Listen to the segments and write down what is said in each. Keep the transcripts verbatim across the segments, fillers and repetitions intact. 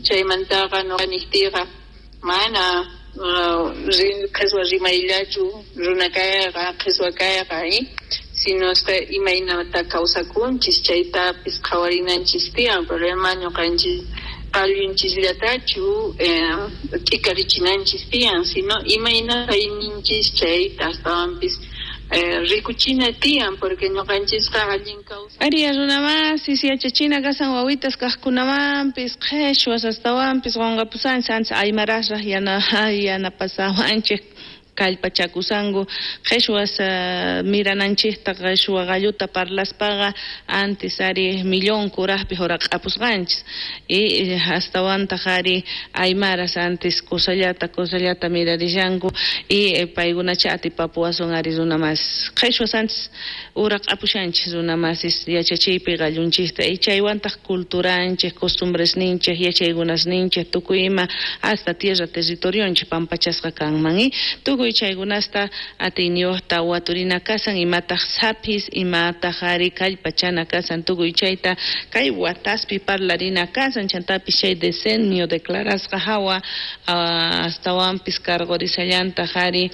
Chaymantaqa nuqa niqtiyqa mana qheswa rimayllachu runa kayqa, qheswa kayqa, sino imaynata kawsakunchis chaytapis qhawarinanchis tiyan, problema ñuqanchis qallunchisllatachu t'ikarichinanchis tiyan, sino imayna kayninchis chayta astawanpis rikuchina tiyan, porque ñuqanchisqa allin kawsay. Ariya runamasis yachachina kasan wawitas kaqkunamanpis qheshwas astawanpis qunqapusanchis ancha aymarasraq yana yanapasawanchik kallpachakusanku qheshwas mirananchikta qheshwa qalluta parlaspaqa antes ari millón kuraqpi huraq'apusqanchis y astawantaq ari aymaras antes kusallata kusallata mirarishanku y paykunacha atipapuwasun ari runamasis qheshwas antes huraq'apushanchis runamasis yachachiypi qallunchikta y chaywantaq culturanchik costumbresninchik yachaykunasninchik tukuy ima hasta tierra territorionchik pampachasqa kanman y tukuy chaykunasta atiyniyuqta waturina kasan imataq sapis imataq ari kallpachana kasan tukuy chayta kay wataspi parlarina kasan chantapis chay decenio declarasqa hawa astawanpis karqurisallantaq ari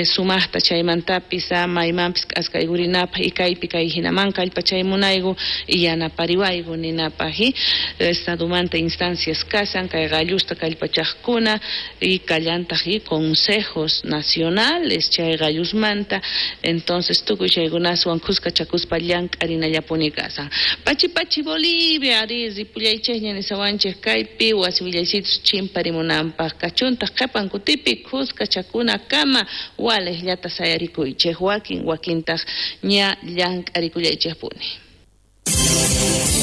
sumaqta chaymantapis maymanpis k'askaykurinapaq y kaypi kay hinaman kallpachaymunayku y yanapariwayku ninapaq y estadomanta instancias kasan kay qallusta kallpachaqkuna y kallantaq y consejos nacionales chay qallusmanta entonces tukuy chaykunaswan khuskachakuspa llank'arinallapuni kasan. Pachi pachi Bolivia ari ripullaychikña nisawanchik kaypi wasi willaysitus chimparimunanpaq kachuntaq qhipan kutipi khuskachakunakama waliqllata sayarikuychik wakin wakintaq ña llank'arikullaychikpuni.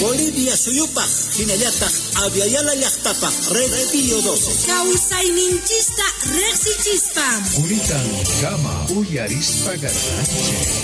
Bolivia suyupaq hinallataq Aviala llaqtapaq Red Pío doce. Kawsayninchista riqsichispa. Quritan kama uyarispa garranchik.